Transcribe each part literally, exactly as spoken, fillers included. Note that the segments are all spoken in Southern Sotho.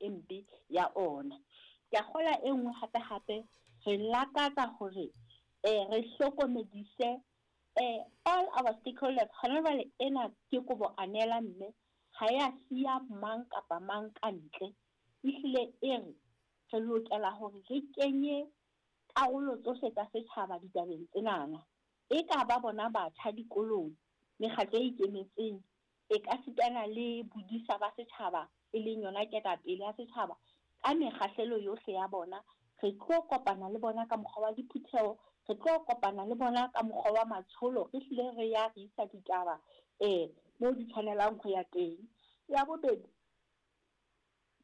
e mpe ya ona. Ke a kgolwa e nngwe hape hape re lakatsa hore eh re hlokomedise eh all our stakeholders. Hona jwale ena ke kobo anela mme ha ya siya mang kapa mang ka ntle. Ehlile e re re lokela hore re kenye karolo tsohle tsa setjhaba ditabeng tsenana. E ka ba bona batjha dikolong, mekgatlo e ikemetseng, e ka sitana le bodisa ba setjhaba e leng yona ketapele ya setjhaba ka mekgahlelo yohle ya bona. Re tlo kopana le bona ka mokgwa wa diphutheho, re tlo kopana le bona ka mokgwa wa matsholo, re hlile re ya re isa ditaba eh mo di tshwanelang ho ya teng. Ya bobedi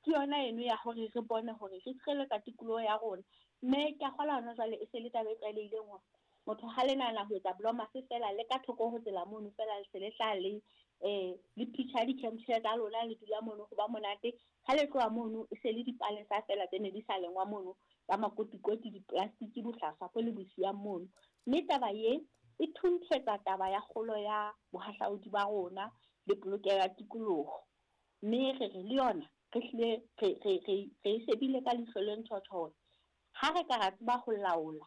ke yona eno ya hore re bone hore re tshireletsa tikoloho ya rona. Mme ke a kgolwa hona jwale e se le taba e tlwaelehileng hore motho ha le nahana ho etsa blomase feela le ka thoko ho tsela mono feela le se le hlaha le eh le picture di-campshare tsa lona le dula mono ho ba monate. Ha le tloha mono e se le dipalesa feela tse ne di sa lengwa mono tsa makotikoti, di-plastic, bohlaswa bo le bo siyang mono. Mme taba ye e thunthetsa taba ya kgolo ya bohahlaudi ba rona le polokeho ya tikoloho. Mme re re le yona re hlile re re re re e shebile ka leihlo le ntjhotjho hore ha re ka ra tseba ho laola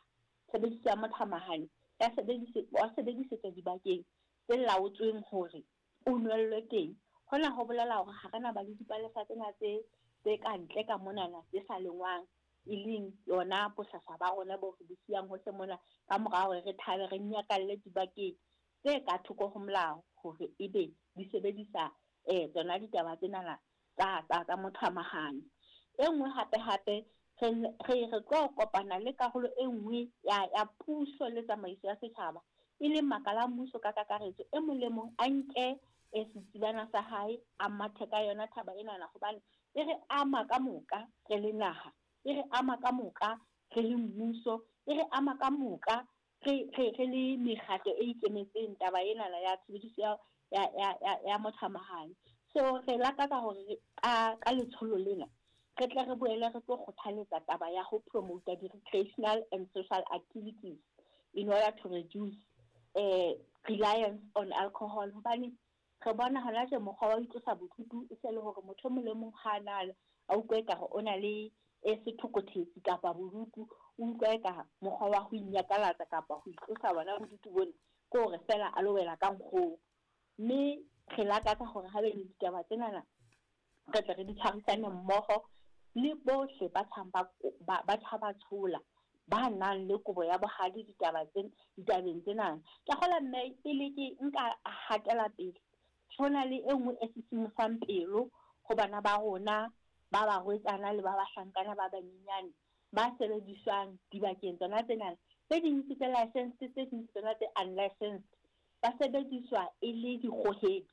tshebediso ya mothamahane ya sebedise wa sebedisetswa dibakeng tse laotsweng hore o nwellwe teng. Hona ho bolela hore ha re na ba le dipalesa tsena tse tse ka ntle ka monana tse sa lengwang, e leng yona bohlaswa ba rona bo re bo siyang hohle mona ka mora hore re thabe re nyakalle dibakeng tse ka thoko ho molao hore ebe di sebedisa eh tsona ditaba tsenana tsa tsa tsa mothamahane. E nngwe hape hape re re re tlo kopana le karolo e nngwe ya ya puso le tsamaiso ya setjhaba e leng makala a mmuso ka kakaretso. E mong le mong a nke e setsibana sa hae a mathe ka yona thaba enana, hobane e re ama ka moka re le naha, e re ama ka moka re le mmuso, e re ama ka moka re re re le mekgatlo e ikemetseng taba enana ya tshebediso ya ya ya ya, ya mothamahane. So re lakatsa hore ka ka letsholo lena re tle re boele re tlo kgothaletsa taba ya ho promote di-recreational and social activities in order to reduce eh reliance on alcohol. Hobane re bona hona tje mokgwa wa ho itlosa bodutu e se le hore motho e mong le mong ha na a utlwa ekare o na le e sethokothetse kapa bodutu, o utlwa eka mokgwa wa ho inyakalatsa kapa ho itlosa bona bodutu bona ke hore feela a lo wela ka nkgong. Mme re lakatsa hore ha be le ditaba tsenana re tle re di tshwarisane mmoho le bohle ba tshang ba ba ba tshaba tshola ba nang le kobo ya bohadi ditaba tse ditabeng tsena. Ke kgola mme pele ke nka hatela pele, ho na le e nngwe e sisimosang pelo ho bana ba rona ba barwetsana le ba bahlankana ba banyenyane ba sebediswang dibakeng tsona tsena. Tse ding ke tse licensed, tse ding ke tsona tse unlicensed. Ba sebediswa e le dikgohedi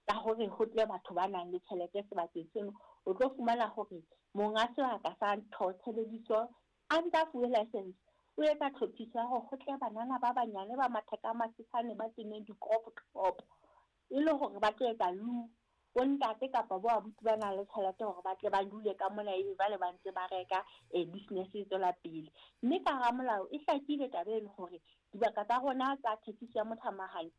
ka hore ho tle batho ba nang le tjhelete sebakeng seno. O tlo fumana hore monga sebaka sa ntho tshebediso a ntsa fuwe license, o etsa tlhophiso ya hore ho tle banana ba banyane ba matheka a masesane ba tenneng di-crop top e le hore ba tlo etsa lu bo ntate kapa bo abuti ba nang le tjhelete hore ba tle ba dule ka mona ebe ba le ba ntse ba reka eh business e tswela pele. Mme ka hara molao e hlakile taba eno hore dibaka tsa rona tsa thekiso ya mothamahane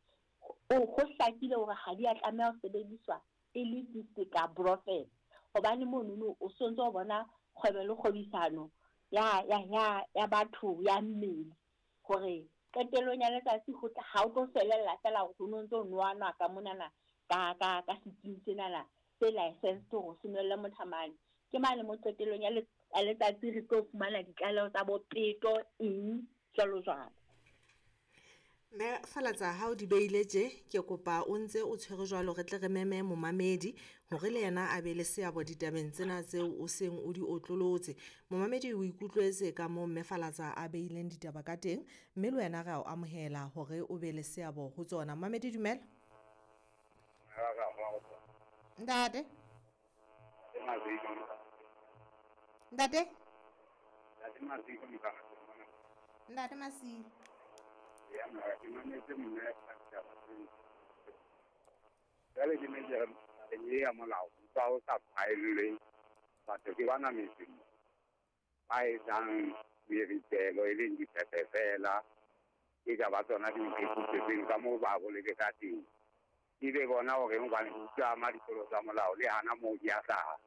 o ho hlakile hore ha di a tlameha ho sebediswa e le diseka brothel, hobane monono o sontso o bona kgwebo le kgwebisano ya ya ya ya batho ya mmele hore qetellong ya letsatsi ho tla ha o tlo felella feela hore ho no ntso nwanwa ka monana ka ka ka setsing senana se licensed hore se nwelle mothamane. Ke mane mo qetellong ya letsatsi re tlo fumana ditlaleho tsa bo peto eng jwalo jwalo. Mme Falatsa, ha o di beile tje, ke kopa o ntse o tshwere jwalo re tle re meme momamedi hore le yena a be le seabo ditabeng tsena tseo o seng o di otlolotse. Momamedi o ikutlwetse ka moo Mme Falatsa a beileng ditaba ka teng, mme le wena re a o amohela hore o be le seabo ho tsona. Momamedi, dumela. Ntate. Ntate. Ntate Masilo. Ya mara ke mametse mme ka jwale ke ne ke re tabeng e ya molao utlwa o sa phaellwe batho ke bana metseng ba etsang meritelo e leng dipepe fela e ka ba tsona di nthekisetseng ka moo ba boleke ka teng. Ebe bona hore hobane utlwa ama dikolo tsa molao le hana moo di a hlaha.